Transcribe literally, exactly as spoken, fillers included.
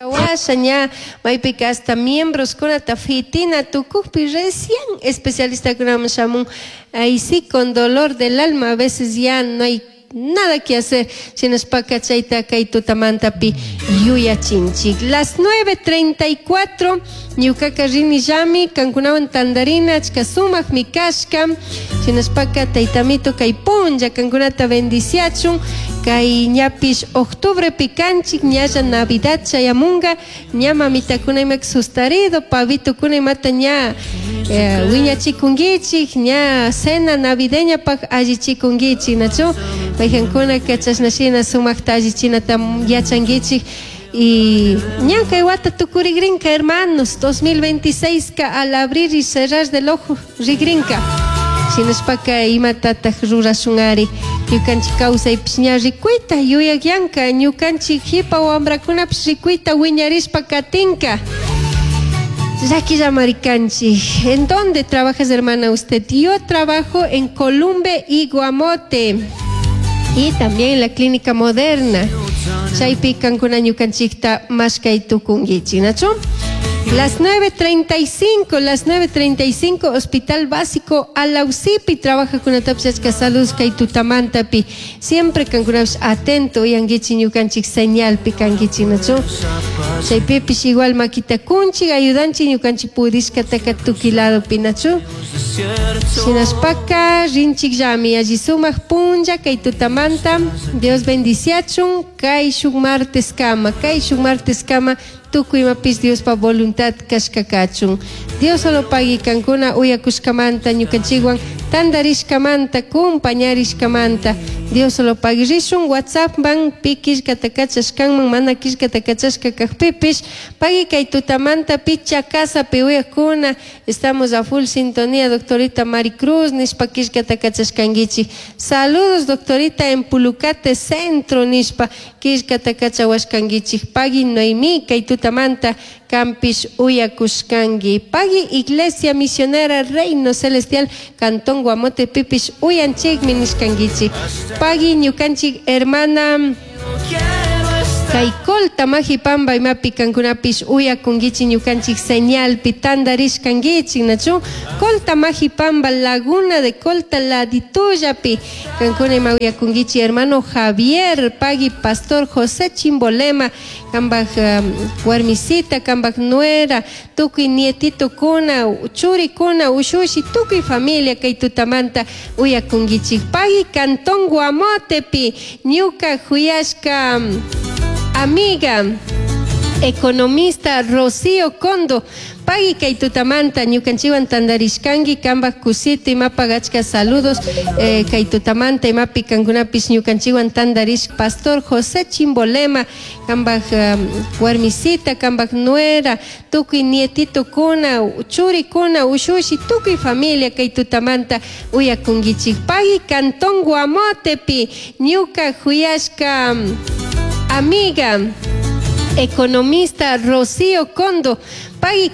Washa ña maypika hasta miembros kunata fitina tukukpi recién especialistakunaman shamun. Ahí sí, con dolor del alma, a veces ya no hay nada que hacer. Shinashpaka chayta kay tutamantapi yuyachinchik. Las nueve treinta y cuatro, ñukaka rinillami, kankunawan tandarina achka sumakmi kashka. Shinashpaka taytamito kay punlla kankunata bendiciachun. Kay ñapish octubrepi kanchik, ñalla Navidad chayamunga, ña mamitakuna imaka sustarido, pavitukuna imata ña eh, wiñachikunkichik, ña cena navideña pak allichikunkichik, nachu? Mayqankunaka chashna shina sumakta allichinata yachankichik. Y ña kay wata tukurigrinka, hermanos, dos mil veintiséis ka al abrir y cerrar del ojo rigrinka. Shinashpaka imatataj rurashunari? Ñukanchik kawsaypish ña rikuyta yuyakyanka, ñukanchik hipa wambrakunapish rikuyta wiñarishpa katinka. Llaquillamari kanchik. ¿En dónde trabajas, hermana, usted? Yo trabajo en Columbe y Guamote. Y también en la Clínica Moderna. Chaypi kankuna ñukanchikta mashkay tukunkichik, nachu? Las nueve treinta y cinco, las nueve treinta y cinco, Hospital Básico Alausipi, trabaja con achka saludos kay tutamantapi. Siempre kankunapish atento uyankichik ñukanchik señalpi kankichik, nachu? Chaypipish igual makita kunchik, ayudanchik ñukanchik pudishkataka tukuy ladopi, nachu? Shinashpaka rinchikllami, alli sumak punlla kay tutamanta. Dios bendiciachun kay shuk martes kama, kay shuk martes kama tukuy imapish Diospa voluntad kashka kachun. Dios solo pagui kankuna uyakushkamanta, ñukanchikwan tandarishkamanta, kumpañarishkamanta. Dios solo pagui. Rishun WhatsApp man, pi killkata kachashkanman, mana killkata kachashka kakpipish. Pagui kay tutamanta picha casapi uyakuna, estamos a full sintonía, doctorita Maricruz, nishpa killkata kachashkankichik. Saludos, doctorita, en Pulucate Centro, nishpa killkata kachawashkankichik. Pagui Noemí, kay tutamanta kanpish uyakushkanki. Pagui Iglesia Misionera Reino Celestial, Cantón Guamote pipish uyanchikmi nishkankichik. Pagui ñukanchik hermana kay Colta Majipamba imapi kankunapish uyakunkichik ñukanchik señalpi tandarishkankichik, nachu? Colta Majipamba, Laguna de Colta laditullapi kankuna ima uyakunkichik, hermano Javier. Pagui pastor José Chimbolema, kambaj um, warmisita, kambaj nuera, tukuy nietitokuna, churikuna, ushushi, tukuy familia kay tutamanta uyakunkichik. Pagui Cantón Guamotepi ñuka juyashka amiga economista Rocío Condo. Pagui kay tutamanta ñukanchikwan tandarishkanki, kambaj kusita imapag achka saludos eh, kay tutamanta imapi kankunapish ñukanchikwan tandarish. Pastor José Chimbolema, kambaj um, warmisita, kambaj nuera, tukuy nietitokuna, churikuna, ushushi, tukuy familia kay tutamanta uyakunkichik. Pagui Cantón Guamotepi ñuka juyashka amiga economista Rocío Condo. Pagui.